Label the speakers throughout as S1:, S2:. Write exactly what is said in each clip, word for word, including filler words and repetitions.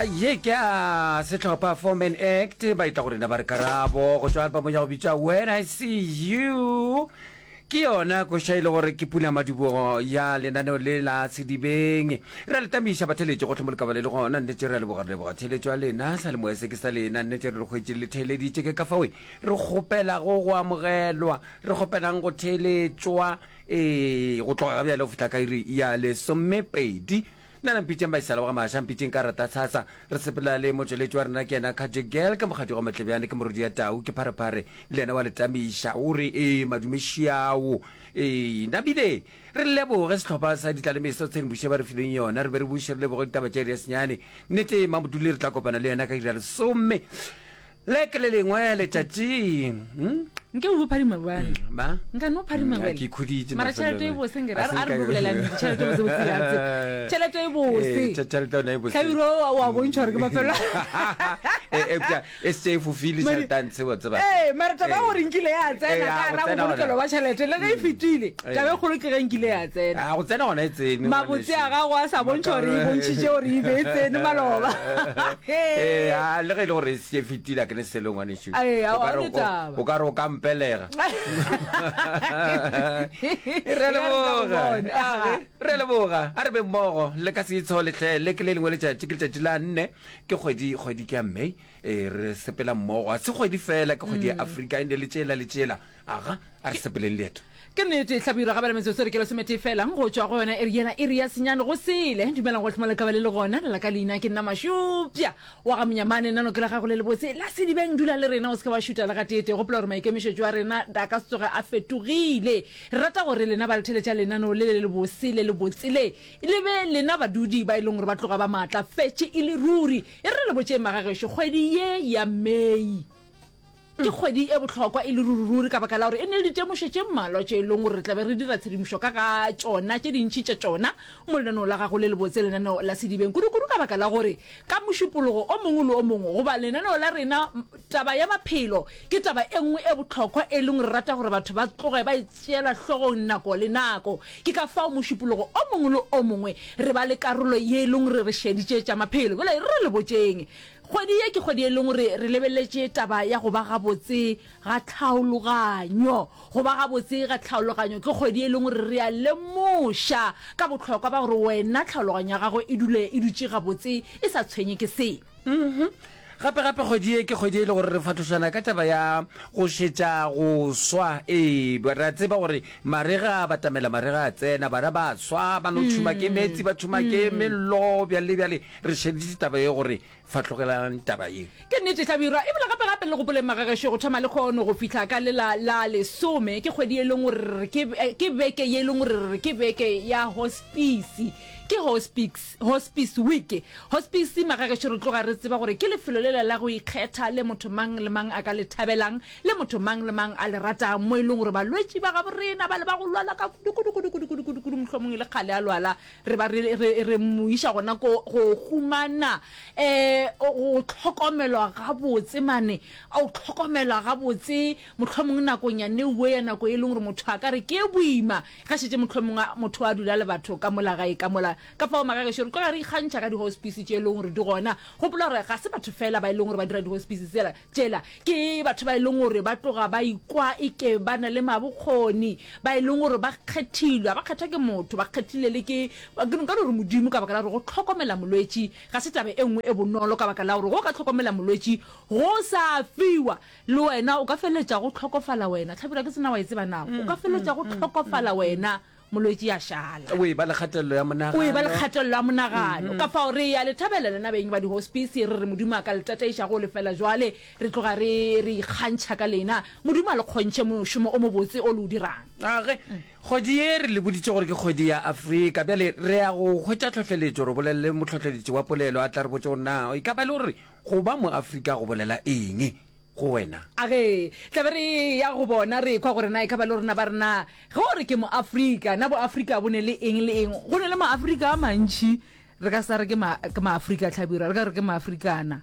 S1: Ye ke a sehlopha Four Man Act, ba etla go rena ba re karabo go tšwa album ya go bitšwa When I See You. Ke yona koša e le gore ke pula madibogo ya lenaneo le la Sedibeng. Re a le tamiša batheeletši gohle mo le ka ba le le gona. Nnete re a leboga, re leboga theeletšo ya lena. Salemoya se ke sa lena. Nnete re le hwetše le theeleditše. Ke ka fao re kgopelago go amogelwa, re kgopelang go theeletšwa, ee, go tloga ga bjale go fihla ka iri ya lesomepedi. Nna la mpitšeng Baisala wa ga Maša, mpitšeng ka rata tshasa. Re sepela le motšweletši wa rena ke yena Khatše Girl, ke mokgadi wa Matlebjane, ke morodi ya tau, ke pharephare, le yena wa le tamiša. O re, Ee, madume šiao. Ee, nabile re leboge sehlopha sa Ditlalemeso tshedimošo ba re fileng yona. Re be re buše re leboge ditaba tša iri ya senyane. Nnete, Mamodule re tla kopana le yena ka iri ya lesome. Le ke le lengwe letšatši. Hmm?
S2: Nke o phadima bjale.
S1: Hmm, ba?
S2: Nka no phadima
S1: hmm,
S2: bjale.
S1: Ke khuditše.
S2: Mara tšhelete e bose nkere. A re bolela nnete, tšhelete e bose bose ya tse. Tšhelete e bose.
S1: Eh, tšhelete yona e bose.
S2: Hlabirwa wa bontšha gore ke mafelo.
S1: Eh, eupša e se e fofile tšhelete a ntshe wa tseba.
S2: Eh, mara taba ya gore nkile ya tsena ka ra bobolokelo ba tšhelete le ge e fetile. Taba e kgolo ke ge nkile ya tsena.
S1: A go tsena gona e tsene.
S2: Mabotse a gago a sa bontšha gore e bontšhitše gore e be e tsene maloba.
S1: Ee, a le ge e le gore e se fetile a ke ne selo ngwanešu.
S2: Ee,
S1: O ka
S2: a
S1: re
S2: o
S1: o-
S2: taba.
S1: o ka re o ka mpelega. Re a leboga. Re a leboga. A re be mmogo le ka se itshole hle. Le ke le lengwe letšatši ke letšatši la nne ke kgwedi kgwedi ke ya May. Ee, re sepela mmogo. A se kgwedi fela ke kgwedi ya Afrika ende le tšela le tšela. Aga, a re sepeleng leeto.
S2: Ke nnete, Hlabirwa, ga bjale metsotso re ke lesometee fela go tšwa go yona iri yela, iri ya senyane go sele. Dumelang gohle mo le ka ba le le gona. La ka leina ke nna Mašupša wa ga Monyamane, nano ke la gago le lebotse la Sedibeng. Dula le rena, o se ke wa šuta le gateetee. Gopola gore maikemišetšo a rena a ka se tsoge a fetogile. Re rata gore lena ba le theletša lenaneo le le lebose le lebotse le, le be lena badudi ba e leng gore ba tloga ba maatlafetše e le ruri. E re re le botšeng magagešo, kgwedi ye ya May, Ke kgwedi e bohlokwa e le ruriruri ka baka la gore e ne le ditemošo tše mmalwa tše e leng gore re tla be re dira tshedimošo ka ga tšona, tše dintši tša tšona mo lenaneong la gago le lebotse, lenaneo la Sedibeng, kudukudu ka baka la gore ka Mošupologo o mongwe le o mongwe goba lenaneo la rena, taba ya maphelo ke taba e nngwe e bohlokwa e leng re rata gore batho ba tloge ba e tšeela hlogong nako le nako. Ke ka fao Mošupologo o mongwe le o mongwe re ba le karolo ye e leng gore re šeditše tša maphelo. Bjale re le botšeng. Kgwedi ye ke kgwedi e leng gore re lebeletše taba ya go ba gabotse ga tlhaologanyo. Go ba gabotse ga tlhaologanyo ke kgwedi e leng gore re a lemoša ka bohlokwa ba gore wena tlhaologanyo ya gago e dule e dutše gabotse e sa tshwenye ke selo.
S1: Gape gape kgwedi ye ke kgwedi e le gore re fahlošana ka taba ya go šetša go swa. Ee, re a tseba gore marega a batamela, marega a tsena, bana ba swa, ba no tšhuma ke meetse, ba tšhuma ke mello, bjale le bjale. Re šeditše taba ye gore Fahlogelang taba ye.
S2: Ke nnete, Hlabirwa. Ebile gape gape le gopoleng magagešo, go thoma lekgono go fihla ka lela la lesome, ke kgwedi ye e leng gore re re ke, ke beke ye e leng gore re re ke beke ya hospisi. Ke hospice, hospice week. Hospice, magagešo, re tloga re tseba gore ke lefelo lela la go ikgetha le motho mang le mang a ka le thabelang, le motho mang le mang a le ratang, mo e leng gore balwetši ba gaborena bale ba go lwala ka kudu, kudu, kudu, kudu, kudu, kudu, kudu, mohlomong e le kgale a lwala, Re ba re, re, re mo iša gona ko go humana um go hlokomelwa gabotse mane, o hlokomelwa gabotse mohlomong nakong ya newe ya nako e leng gore motho a ka re ke e boima ge šetše mohlomong motho a dula le batho ka mola gae ka mola. Ka fao magagešo re tloga re ikgantšha ka di-hospice tše e leng gore di gona. Gopola gore ga se batho fela ba e leng gore ba dira di-hospice tsela, tšela, ke batho ba e leng gore ba tloga ba ikwa eke ba na le mabokgoni, ba e leng gore ba kgethilwe, ga ba kgethwa ke motho, ba kgethile le ke, ke nka no re Modimo, ka baka la gore go hlokomela molwetši ga se taba e nngwe e bonolo, ka baka la gore ge o ka hlokomela molwetši go sa fiwa, le wena o ka feleletša go hlokofala wena. Hlabirwa, ke se na wa e tseba na? O ka feleletša go hlokofala wena. Molwetši a šala.
S1: O eba le kgatelelo ya monagano.
S2: O eba le kgatelelo ya monagano. Ka fao re a le thabela lena beng ba dihospisi, re re Modimo a ka le tataiša go lefela jwale. Re tloga re, re ikgantšha ka lena. Modimo a le kgontšhe mošomo o mobotse o le o dirang.
S1: A ge, kgwedi ye re le boditše gore ke kgwedi ya Afrika. Bjale re ya go hwetša tlhohleletšo, re bolelele mohlohleletši wa polelo a tla re botše gore na e ka ba e le gore go ba Moafrika go bolela eng. go wena.
S2: A ge tla be re eya go bona, re ekwa gore na e ka ba le rena ba re na ge o re ke Moafrika, na Boafrika bo ne le eng le eng? Go ne le Maafrika a mantši, re ka sa re ke ma, ke Maafrika Hlabirwa, re ka re ke Maafrikana,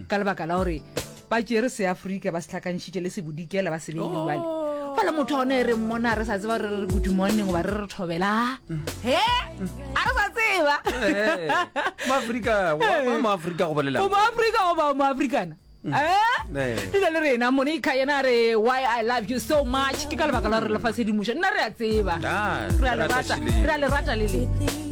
S2: ka lebaka la gore ba tšere Seafrika ba se hlakantšhitše le Sebodikela ba se beile bjale. Fela motho wa gona e re mmona re sa tseba re re good morning goba re re thobela. He? A re sa tseba.
S1: Eh, Moafrika, wa Moafrika go bolela.
S2: O Moafrika goba o Moafrikana? Eh?
S1: Eh.
S2: Dula le rena Monica yena a re why I love you so much ke ka lebaka la gore le fa tshedimošo. Nna re a tseba.
S1: Ah,
S2: Re a le rata,
S1: šileng.
S2: re a le rata le le.